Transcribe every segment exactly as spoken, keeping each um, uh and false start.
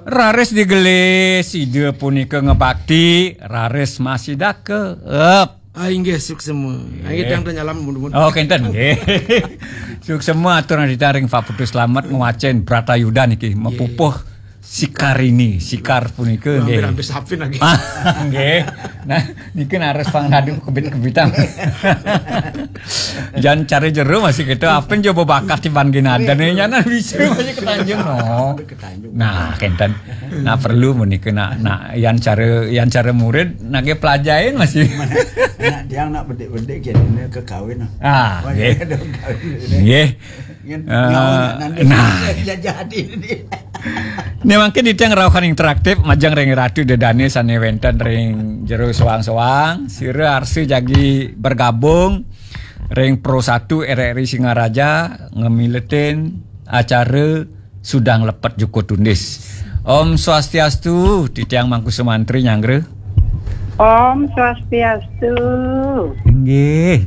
Raris digelis, Ida punika ngebakti, raris masih dakep. Ah, inggih, suksema. Inggih, tang nyalam, mun-mun. Oh, kenten, nggih. Suksema atur nadita ring Pak Putu Slamet ngwacen Bratayuda niki, mapupuh Sikarini, Sikar punika, nggih. Hampir-hampir sapin lagi. Ah, nggih. Nah, niki nares pang radu kebit-kebitan. Jan cara jero masih gitu, apa yang coba bakat di panggilan ada nih, nyana bisa masih ketanjung, no. Nah, kenten. Nah, perlu menika, nak, nak, yang cara, yang cara murid, nak dia pelajarin masih. Nak dia nak bedik-bedik, kira kekawin. Ah, nggih. Nggih. Nah, nah. Ini mungkin itu yang rauhan interaktif, majeng ring Ratu Dedane sane wenten ring jero soang-soang, sira arsa jagi bergabung ring Pro satu R R I Singaraja ngemiletin acara Sudang Lepet Juku Tundis. Om Swastiastu, titiang Mangku Sumantri nyanggra. Om Swastiastu. Inggih.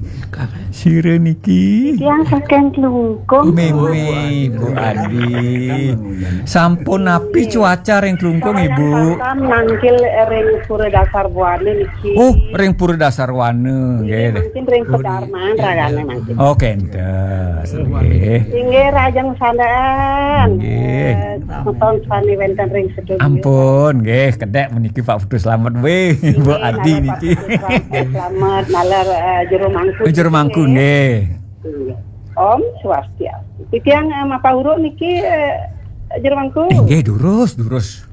Sira niki. Tiang saking Klungkung. Meme, Bu Adi. Sampun napi cuaca ring Klungkung, Ibu? Sampun nangkil ring Pura Dasar Buana niki. Oh, ring Pura Dasar Wana, nggih. Mungkin ring pedarman ragane mungkin. Oh, kenten. Nggih. Inggih, rahajeng sandaan. Nggih. Eh, semeton sami wenten ring studio. Ampun, nggih, kedek meniki Pak Putu Slamet, weh, Bu Adi niki. Pak Putu Slamet, naler, eh, jero mangku. Jero mangku, nggih. Nggih. Om Swastiastu. Titiang, eh, Mapa Uruk niki, eh, jero mangku. Inggih, durus, durus.